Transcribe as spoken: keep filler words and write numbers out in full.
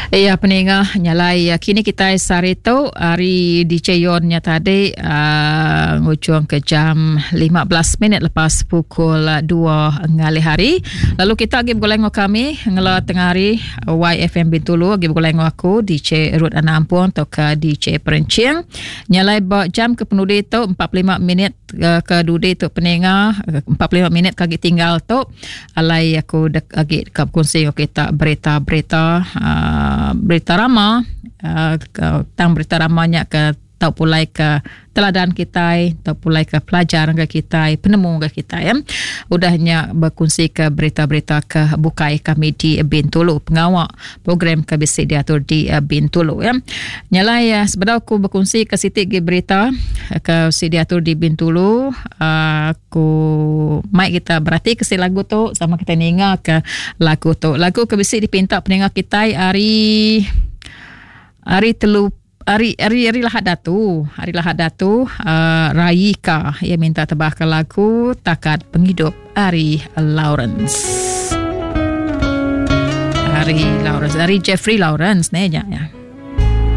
Iya peninga nyalai kini kita sehari tu hari D J Yon nya tadi uh, ngujung ke jam lima belas minit lepas pukul dua ngalih hari. Lalu kita lagi bergulai dengan kami ngela tengah hari Y F M Bintulu lagi bergulai dengan aku D J Ruth Anak Ampung atau ke D J Perencing. Nyalai ba jam ke penudi tu empat puluh lima minit ke dudi tu peninga empat puluh lima minit kagi tinggal tu alai aku dek, lagi ke berkongsi dengan kita berita-berita uh, berita rama uh, tentang berita ramanya ke tau pulai ke teladan kita, tau pulai ke pelajar ke kita, penemu ke kita ya. Udahnya berkongsi ke berita-berita ke bukai kami di Bintulu, pengawak program ke bisi diatur di Bintulu ya. Nyalai ya, sebedau aku berkongsi ke sitik ke berita ke bisi diatur di Bintulu, aku mai kita berarti ke si lagu tu sama kita ninga ke lagu tu. Lagu ke bisi dipinta peninga kita hari hari telu Hari hari hari Lahad Datu, hari Lahad Datu uh, Raika ia minta tebah ke lagu Takat Penghidup Ari Lawrence. Ari Lawrence, Ari Jeffrey Lawrence ne ya.